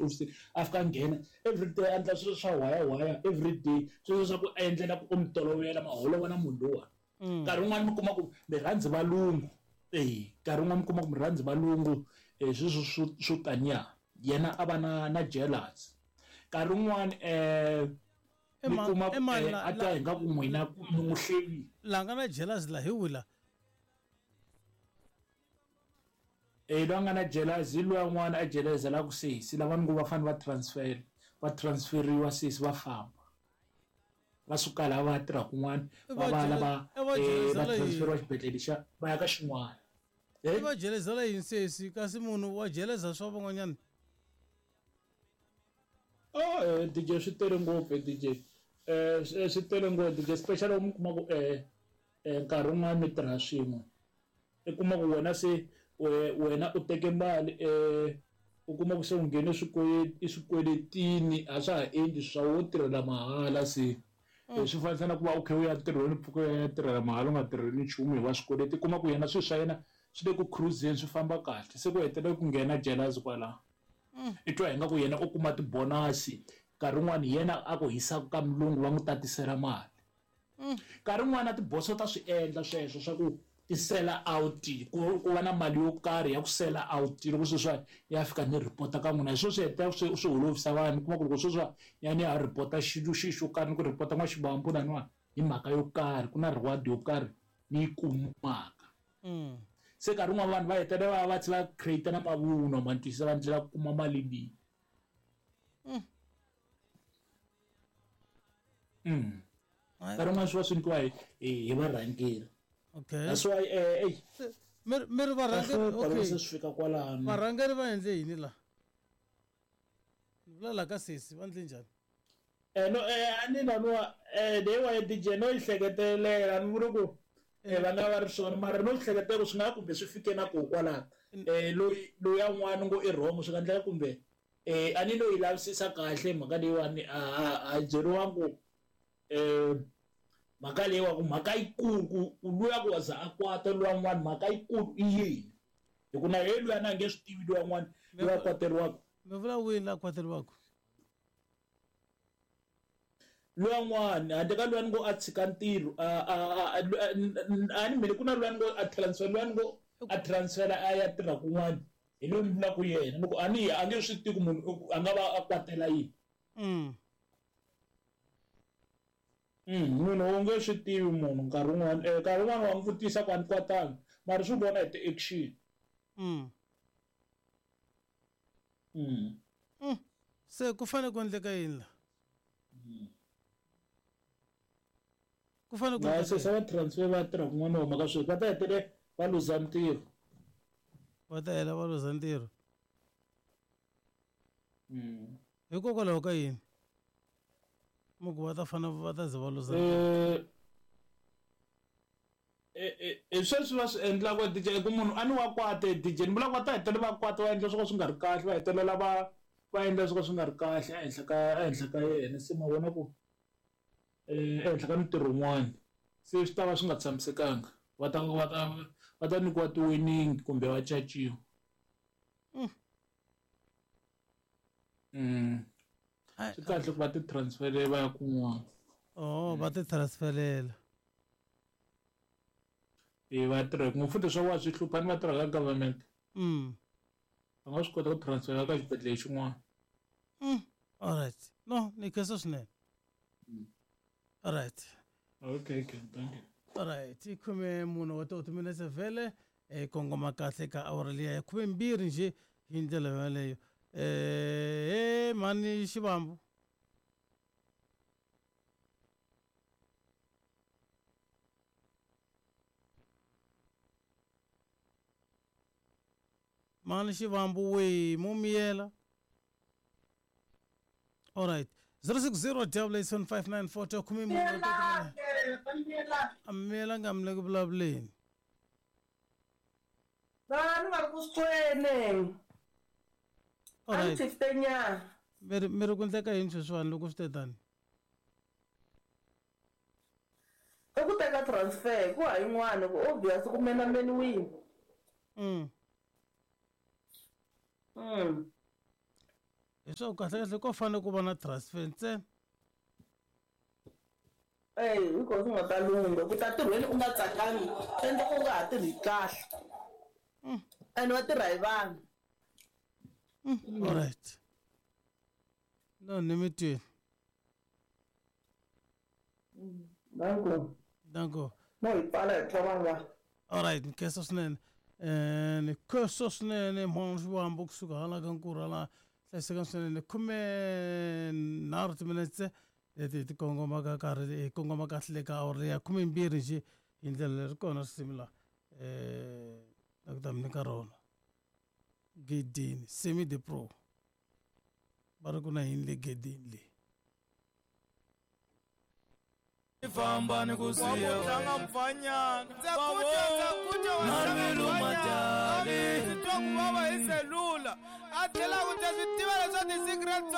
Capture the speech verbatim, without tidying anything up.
tihofisini a fika a nghena every day a endla swilo swa waya waya every day sweswo swa ku a endlela ku u mi tolovela ma holova na munhu luwa. Nkarhi wun'wani mi kuma ku mi rhandzi valungu e nkarhi wun'wani mi kuma ku mi rhandzi valungu e sweswo swo swo taniya yena a va na na jealous. Nkarhi wun'wani um mi kuma ku a twa hi nga ku n'wina mi n'wi hlevile. La nga na jealous la hi wila. Eh loyi a nga na jealous hi luya n'wana a jelezela ku sesi lava ni ngo va fanele va transfer va transferiwa sesi va famba va suka laha va ya tirha kun'wana va va lava va transferiwa xibedhlele xa va ya ka xin'wana. I va jelezela yini sesi kasi munhu wa jeleza swa van'wanyana? Oh D J swi tele ngopfu D J eh swi tele ngopfu D J special mi kuma ku eh nkarhi wun'wana mi tirha swin'we i kuma ku wena se wena u teke mali eh u kuma ku se u nghene swikweletini a swa ha endli swa wo tirhela mahala se swi fanisa na ku va u khe u ya ntirhweni mpfhuka u ya tirhela mahala u nga tirheli nchumu hi wa swikweleti kuma ku yena swilo swa yena swi le ku cruiseni swi famba kahle se ku hetelela ku nghena jealous kwalaho i twa hi nga ku yena u kuma tibonasi nkarhi wun'wani yena a ku hisaka ka mulungu va n'wi tatisela mali nkarhi wun'wani na tiboso ta swi endla sweswo swa ku ti sell out ku ku va na mali yo karhi ya ku sell out loko sweswiwani ya fika ni report-a ka n'wina hi swo swi hetelela swi swi holovisa vanhu kuma ku loko sweswiwani ya ni ya report-a xilo xi xo karhi ni ku report-a n'waxibambu laniwani hi mhaka yo karhi ku na reward yo karhi ni yi kumaka se nkarhi wun'wana vanhu va hetelela va va tlhela create na mavunwa ma ni twisisa va ndlela ku kuma mali leyi mm nkarhi wun'wana swi va swi nyikiwa hi hi varhangeri. Okay. That's why eh eh mi mi ri varhangeri okay se swi fika kwalano varhangeri va endle yini la ni vula la ka sesi va endle njhani? Eh no eh ani laniwa eh leyiwa ya D J no yi hleketelela ni vuri ku eh va nga va ri swona mara no hleketela ku swi nga kumbe swi fike na koho kwalano eh loyi loyi yan'wana ngo i wrong swi nga endleka kumbe eh a ni no yi lavisisa kahle mhaka leyiwani a a byeriwangi ku eh mhaka leyiwa ku mhaka yikulu ku luya ku za a kwata luya n'wana mhaka yikulu i yini hi ku na yena luya na nge swi tivi luya n'wana luya a kwateriwaka. Mi vula wihi la kwateriwaka? Luya n'wana handle ka luya ni ngo a tshika ntirho a a ni mele ku na luya ni ngo a transfer luya ni ngo a transfer a ya tirha kun'wana hi loyi ni vulaka yena loko a ni a nge swi tivi ku munhu a nga va a kwatela yini. Mm. Mm, munhu u nge swi tivi munhu nkarhi wun'wana eh nkarhi wun'wana wa n'wi vutisa ku a ni kwatanga mara swi vona hi ti-action. Mm. Mm. Mm. Se ku fanele ku endleka yini la? Ku fanele ku Na se se va transfer va tirha kun'wana huma ka sweswi va ta hetelela va luza ntirho. Va ta hela va luza ntirho. Mm. Hikokwalaho ka yini? Muku va ta fana va ta ze va luza Eh eh eh sweswi va swi endlaka D J ku munhu a ni wa kwata D J ni vula ku va ta hetelela va kwata va endla swo ka swi nga ri kahle va hetelela va va endla swo ka swi nga ri kahle ehenhla ka ehenhla ka yena se ma vona ku eh ehenhla ka mintirho yin'wana se swi ta va swi nga tshamisekanga va ta va ta va ta nyikiwa ti-warning kumbe va caciwa. Mm. Swi kahle ku va ti transferela va ya kun'wana. Oh va ti transferela. E va tirha ku futhi swa wa swi hlupha ni va tirha ka government. Mm. Va nga swi kota ku transfera ka xibedhlele xin'wana. Mm. All right. No, ni khensa swinene. All right. Okay, okay, thank you. All right, i khume mune wa ti minetse vhele e kongoma kahle ka awara liya ya khume mbirhi nje hi ndlela yaleyo. Eh mani Xivambu. Mani Xivambu we mo miyela. All right. zero six zero double eight seven five nine four two khume mune wa ti miyela nga mi le ku vulavuleni. Vanhu va ri ku swi All right. Mi ri mi ri ku endleka yini sweswiwani loko swi te tani? I ku teka transfer ku ha yin'wana ku obvious ku menameniwile. Mm. Mm. Leswaku kahle kahle ko fanele ku va na transfer ntsena. Eyi hi kona swi nga ta lungha ku ta tirhweni u nga tsakangi swi endla ku u nga ha tirhi kahle and va tirha hi vanhu. Alright, no, ni mi twini. Danko. Danko. No, hi pfala hi twa vanhu va. Alright, ni khensa swinene, um ni khensa swinene mhana Xiwambo kusuka hala ka Nkurhu hala. Hlayiseka swinene. Khume nharhu timinetse leti hi ti kongomaka karhi hi kongoma kahle le ka awara ya khumembirhi njhe hi ndlela leri kona risimu laha um la ku ta mi nyika rona Gedeni Semi the Pro va ri ku na yini le gedeni leyi. Famba ni ku siya tlanga mfanyana. Ndza ku twa, ndza ku twa wa Na tlanga mbilu mfanyana. matali. Ndzi twa ku vava hi selula a tlhela ku ta swi tiva leswaku ti-secret to